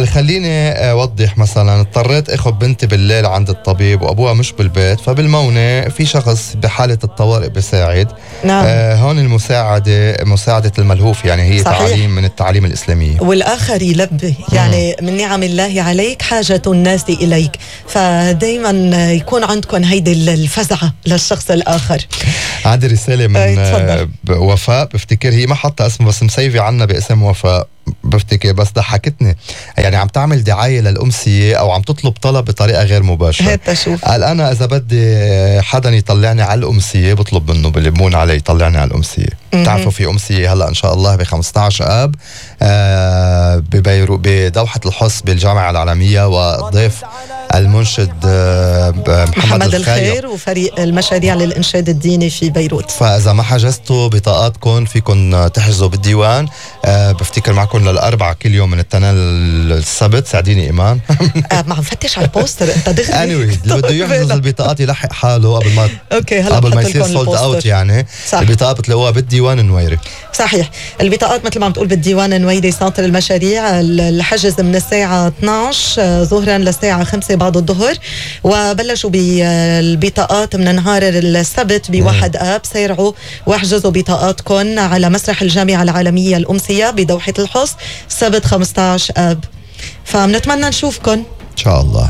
خليني أوضح. مثلا اضطريت أخذ بنتي بالليل عند الطبيب وأبوها مش بالبيت، فبالمونة في شخص بحالة الطوارئ بيساعد. نعم. هون المساعدة مساعدة الملهوف، يعني هي صحيح. تعاليم من التعاليم الإسلامية. والآخر يلبي، يعني من نعم الله عليك حاجة الناس إليك، فدايما يكون عندكم هيدي الفزعة للشخص الآخر. عندي رسالة من وفاء، بفتكر هي ما حطها اسمه بس مسيفة عنا باسم وفاء بفتكر، بس ضحكتني. يعني عم تعمل دعاية للأمسية أو عم تطلب طلب بطريقة غير مباشرة. هات شوف. قال أنا إذا بدي حدا يطلعني على الأمسية بطلب منه بلمون علي يطلعني على الأمسية. تعرفوا في أمسية هلأ إن شاء الله ب15 آب ببيروت بدوحة الحص بالجامعة العالمية، والضيف المنشد محمد الخير وفريق المشاريع للإنشاد الديني في بيروت. فإذا ما حجزتوا بطاقاتكم فيكن تحجزوا بالديوان. بفتكر معكم للأربعة كل يوم من التنين للسبت. ساعديني إيمان. ما عم فتش على البوستر انت دغري. anyway اللي بده يحجز البطاقات يلحق حاله قبل ما قبل ما يصير سولد اوت. يعني البطاقات بتلاقوها بالديوان النويري. صحيح. البطاقات مثل ما عم تقول بالديوان النويري سنتر المشاريع. الحجز من الساعة 12 ظهرا للساعة 5 بعد الظهر، وبلشوا بالبطاقات من نهار السبت ب1 آب. سيرعوا واحجزوا بطاقاتكم على مسرح الجامعة العالمية الأمسية بدوحة الحص سبت 15 آب. فبنتمنى نشوفكم إن شاء الله.